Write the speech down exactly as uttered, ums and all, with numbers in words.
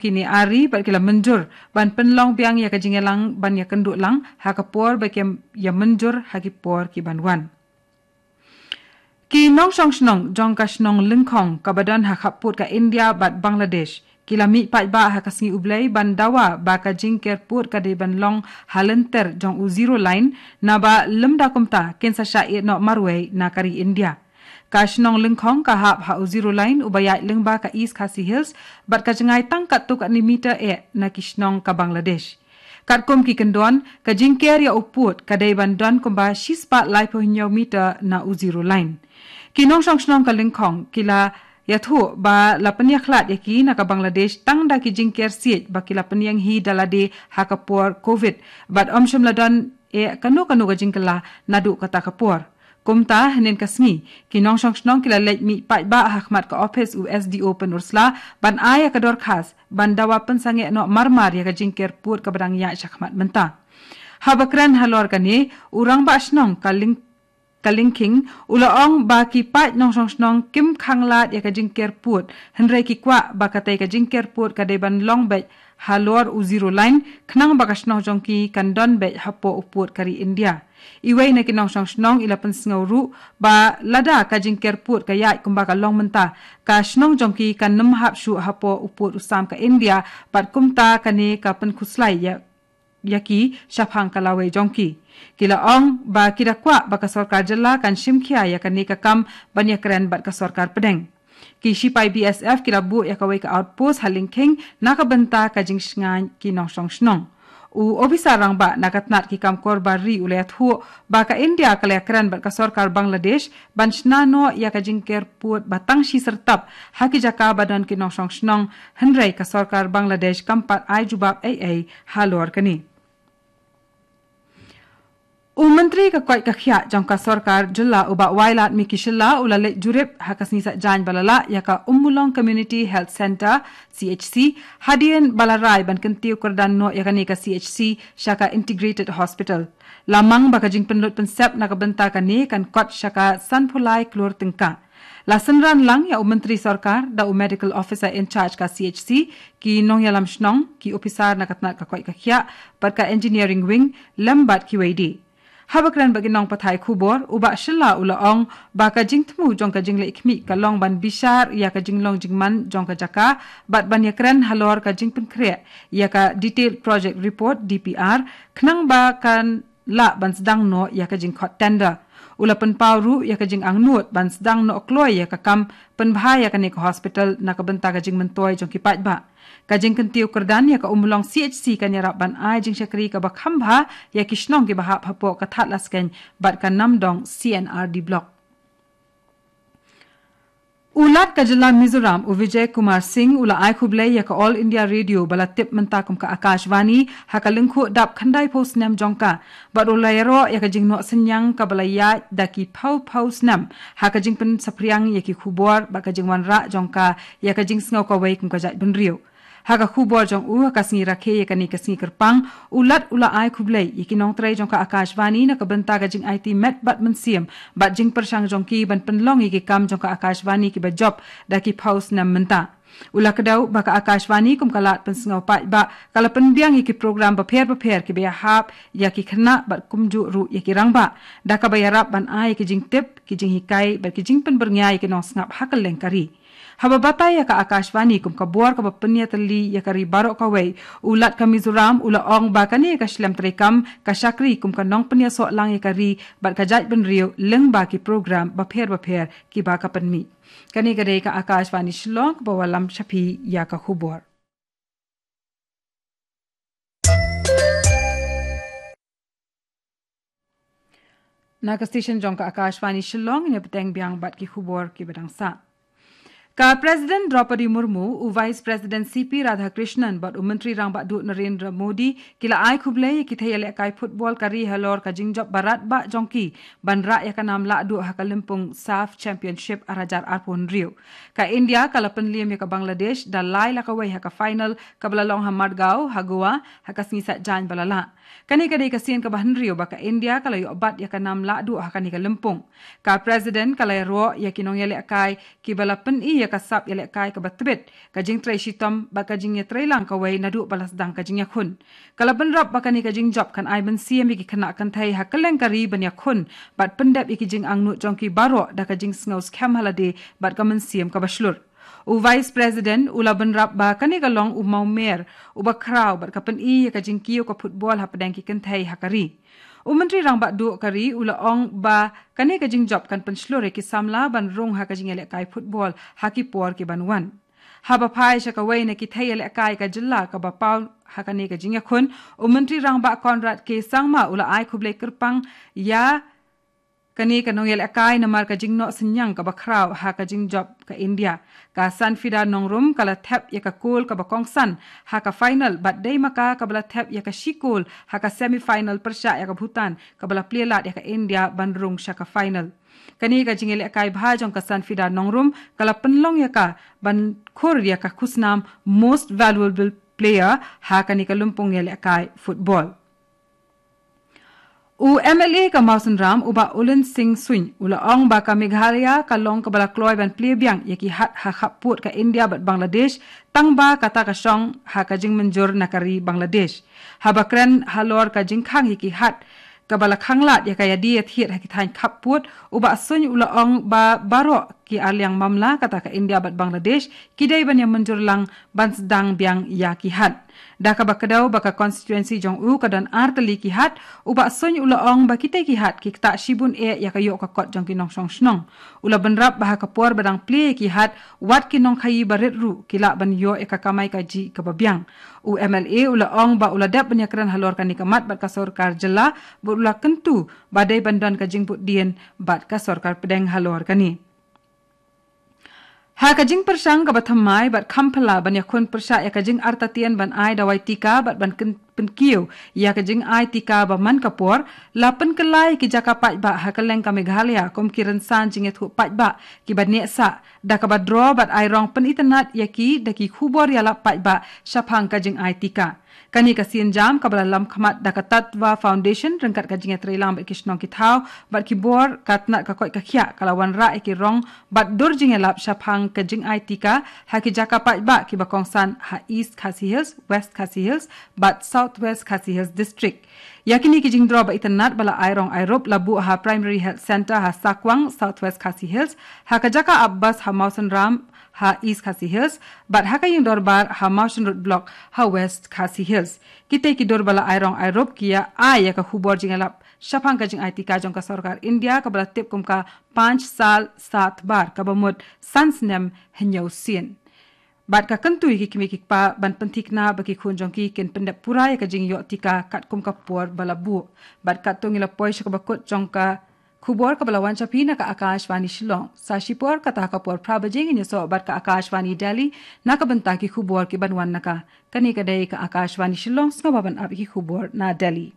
kine ar ri bad ki la mynjur ban pynlong biang ïa ka jingïalang ban ïakynduh lang ha ka por ba ki ïa mynjur ha ki por ki ban wan. Ki nongshong shnong jong ka shnong Lyngkhong kaba don ha khappud ka India bad Bangladesh ki la mih paidbah ha ka sngi U Blei ban dawa ba ka jingker pud ka dei ban long ha lynter jong u Zero Line, naba lymda kumta kin sa shah ïeh noh marwei na ka ri India. Ka shnong Lyngkhong ka hap ha u Zero Line uba ïaid lyngba ka East Khasi Hills bad ka jngai tang katto katne meter eh na ki shnong ka Bangladesh. Katkum ki kyndon, ka jingker ïa u pud ka dei ban don kumba shispah laiphew hynñiew meter na u Zero Line. Ki nongshong shnong ka Lyngkhong ki la ïathuh ba la pynïakhlad ïa ki na ka Bangladesh tang da ki jingker siej ba ki la pynïeng hi da lade ha ka por Covid bad ym shym la don eh kano kano ka jingkylla naduh kata ka por. Kumta, hynnin ka sngi, ki nongshong shnong ki la leit mih paidbah ha khmat ka ophis u S D O Pynursla ban ai ïa ka dorkhas ban dawa pynsangeh noh marmar ïa ka jingker pud kaba dang ïaid sha khmat mynta. Haba kren halor kane, u rangbah shnong ka Lyng-, ka Lyngkhing u la ong ba ki paid nongshong shnong kim khang lad ïa ka jingker pud, hynrei ki kwah ba katei ka jingker pud ka dei ban long beit halor u Zero Line, khnang ba ka shnong jong ki kan don beit hapoh u pud ka ri India. Iwei na ki nongshong shnong i la pynsngew ruh ba lada ka jingker pud ka ïaid kumba ka long mynta, ka shnong jong ki kan nym hap shuh hapoh u pud u sam ka India, bad kumta kane ka pynkhuslai ïa, ïa ki shaphang ka lawei jong ki. Ki la ong ba ki da kwah ba ka sorkar jylla kan shim khia ïa kane ka kam ban ïakren bad ka sorkar pdeng. Ki shipai B S F ki la buh ïa kawei ka outpost ha Lyngkhing na ka bynta ka jingshngaiñ ki nongshong shnong. U ophisar rangbah na ka tnat ki kam kor bar ri u la ïathuh ba ka India ka la ïakren bad ka sorkar Bangladesh ban shna noh ïa ka jingker pud ba tang shi syrtap ha ki jaka ba don ki nongshong shnong, hynrei ka sorkar Bangladesh kam pat ai jubab ei ei halor kane. U Myntri ka koit ka khiah jong ka sorkar jylla u Bah Wailadmiki Shylla u la leit jurip ha ka sngi Saitjaiñ ba la lah ïa ka Ummulong Community Health Centre, C H C, hadien ba la rai ban kyntiew kyrdan noh ïa kane ka C H C sha ka Integrated Hospital. La mang ba ka jingpynlut pynsep na ka bynta kane kan kot sha ka sanphew lai klur tyngka. La synran lang ïa u Myntri Sorkar da u Medical Officer in Charge ka C H C, ki nongïalam shnong, ki ophisar na ka tnat ka koit ka khiah bad ka Engineering Wing, lem bad kiwei de. Haba kren bad ki nongpathai khubor, u Bah Shylla u la ong ba ka jingthmu jong ka jingleh khmih ka long ban bishar ïa ka jinglong jingman jong ka jaka bad ban ïakren halor ka jingpynkhreh ïa ka Detailed Project Report, D P R, khnang ba kan lah ban sdang noh ïa ka jingkhot tender. U la pynpaw ruh ïa ka jingangnud ban sdang noh kloi ïa ka kam pynbha ïa kane ka hospital na ka bynta ka jingmyntoi jong ki paidbah. Ka jingkyntiew kyrdan ïa ka Ummulong C H C kan ïarap ban ai jingshakri kaba kham bha ïa ki shnong kiba hap hapoh ka Thadlaskein bad ka Namdong C and R D Block. U Lat ka jylla Mizoram, u Vijay Kumar Singh, u la ai khublei ïa ka All India Radio ba la tip mynta kum ka Akashvani ha ka lyngkhuh dap khyndaiphew snem jong ka, bad u la ïaroh ïa ka jingnoh synñiang kaba la ïaid da ki phew phew snem ha ka jingpynsaphriang ïa ki khubor bad ka jingwanrah jong ka ïa ka jingsngew kawei kum ka jaitbynriew. Ha ka khubor jong u ha ka sngi rakhe ïa kane ka sngi kyrpang, u Lat u la ai khublei ïa ki nongtrei jong ka Akashvani na ka bynta ka jingaiti met bad mynsiem bad jingpyrshang jong ki ban pynlong ïa ki kam jong ka Akashvani kiba jop da ki phew snem mynta. U la kdew ba ka Akashvani kum ka lad pynsngew paidbah ka la pynbiang ïa ki program bapher bapher kiba ïahap ïa ki khynnah bad kumjuh ruh ïa ki rangbah, da kaba ïarap ban ai ïa ki jingtip, ki jinghikai bad ki jingpynbyrngia ïa ki nongsngap ha kylleng ka ri. Haba batai ïa ka Akashvani kum ka bor kaba pynïatylli ïa ka ri baroh kawei, u Lat ka Mizoram u la ong ba kane ka shlem treikam ka shakri kum ka nongpynïasoh lang ïa ka ri bad ka jaitbynriew lyngba ki program bapher bapher kiba ka pynmih. Kane ka dei ka Akashvani Shillong kaba wallam sha phi ïa ka khubor. Na ka station jong ka Akashvani Shillong, ïa bteng biang bad ki khubor kiba dang sah. Ka President Draupadi Murmu, u Vice President C P Radhakrishnan bad u Myntri Rangbah Duh Narendra Modi ki la ai khublei ïa ki thei ïalehkai football ka ri halor ka jingjop barat bah jong ki ban rah ïa ka nam lahduh ha ka lympung SAFF Championship ar hajar arphew hynriew. Ka India ka la pynliem ïa ka Bangladesh da lai la kawei ha ka final kaba la long ha Margao, ha Goa, ha ka sngi Saitjaiñ ba la lah. Kane ka dei ka sien kaba hynriew ba ka India ka la ïoh bat ïa ka nam lahduh ha kane ka lympung. Ka President ka la ïaroh ïa ki nongïalehkai kiba la pyni ïa ka sap ïalehkai kaba tbit, ka jingtrei shitom bad ka jingïatreilang kawei naduh ba la sdang ka jingïakhun. Ka la bynrap ba kane ka jingjop kan ai mynsiem ïa ki khynnah kynthei ha kylleng ka ri ban ïakhun bad pyndep ïa ki jingangnud jong ki baroh da ka jingsngew skhem ha lade bad ka mynsiem kaba shlur. U Vice President u la bynrap ba kane ka long u mawmer uba khraw bad ka pyni ïa ka jingkiew ka football hapdeng ki kynthei ha ka ri. U Myntri Rangbah Duh ka ri u la ong ba kane ka jingjop kan pynshlur ïa ki samla ban rung ha ka jingïalehkai football ha ki por ki ban wan. Haba phai sha kawei na ki thei ïalehkai ka jylla kaba paw ha kane ka jingïakhun, u Myntri Rangbah Conrad K Sangma u la ai khublei kyrpang ïa kane ka nongïalehkai namar ka jingnoh synñiang kaba khraw ha ka jingjop ka India. Ka Sanfida Nongrum ka la thep ïa ka kol kaba kongsan ha ka final bad dei ma ka kaba la thep ïa ka shi kol ha ka semi final pyrshah ïa ka Bhutan kaba la plie lad ïa ka India ban rung sha ka final. Kane ka jingïalehkai bha jong ka Sanfida Nongrum ka la pynlong ïa ka ban khur ïa ka khusnam Most Valuable Player ha kane ka lympung ïalehkai football. U M L A ka Mawsynram u Bah Ulin Singh Suin u la ong ba ka Meghalaya ka long kaba la kloi ban plie biang ïa ki hat ha khappud ka India bad Bangladesh tang ba kata ka shong ha ka jingmynjur na ka ri Bangladesh. Haba kren halor ka jingkhang ïa ki hat kaba la khanglad ïa ka ïadie ïathied ha ki thaiñ khappud, u Bah Suin u la ong ba baroh ki arliang mamla kata ka India bad Bangladesh ki dei ban ïamynjur lang ban sdang biang ïa ki hat. Da kaba kdew ba ka constituency jong u ka don ar tylli ki hat, u Bah Suin u la ong ba kitei ki hat ki ktah shibun eh ïa ka ïoh ka kot jong ki nongshong shnong. U la bynrap ba ha ka por ba dang plie ïa ki hat, wat ki nongkhaïi barit ruh ki lah ban ïoh ïa ka kamai kajih kaba biang. U M L A u la ong ba u la dep ban ïakren halor kane ka mat bad ka sorkar jylla, bad u la kyntu ba dei ban don ka jingbuddien bad ka sorkar pdeng halor kane. Ha ka jingpyrshang kaba thymmai bad kham phylla ban ïakhun pyrshah ïa ka jingartatien ban ai dawai tika bad ban kyn-, pynkiew ïa ka jingai tika ba man ka por, la pynkylla ïa ki jaka paidbah ha kylleng ka Meghalaya kum ki rynsan jingïathuh paidbah kiba neh sah, da kaba draw bad ai rong pynitynnad ïa ki da ki khubor ïalap paidbah shaphang ka jingai tika. Kane ka sienjam kaba la lam khmat da ka Tatva Foundation ryngkat ka jingïatreilang bad ki shnong ki thaw bad ki bor ka tnat ka koit ka khiah ka la wanrah ïa ki rong bad dur jingïalap shaphang ka jingai tika ha ki jaka paidbah kiba kongsan ha East Khasi Hills, West Khasi Hills bad South West Khasi Hills District. Ïa kine ki jingdraw ba itynnad ba la ai rong ai rup la buh ha Primary Health Centre ha Sakwang, South West Khasi Hills, ha ka jaka ap bas ha Mawsynram ha East Khasi Hills, bad ha ka ïing dorbar ha Mawshynrut Block ha West Khasi Hills. Kitei ki dur ba la ai rong ai rup ki ïa ai ïa ka khubor jingïalap shaphang ka jingai tika jong ka sorkar India kaba la tip kum ka Panch Sal Sat Bar kaba mut san snem hynñiew sien. Bad ka kyntu ïa ki kmie ki kpa ban pynthikna ba ki khun jong ki kin pyndep pura ïa ka jingïoh tika katkum ka por ba la buh. Bad katto ngi la poi sha kaba kut jong ka khubor kaba la wan sha phi na ka Akashvani Shillong. Sa shipor kata ha ka por phra baje ngin ïasoh bad ka Akashvani Delhi na ka bynta ki khubor kiban wan na ka. Kane ka dei ka Akashvani Shillong, sngewbha ban ap ïa ki khubor na Delhi.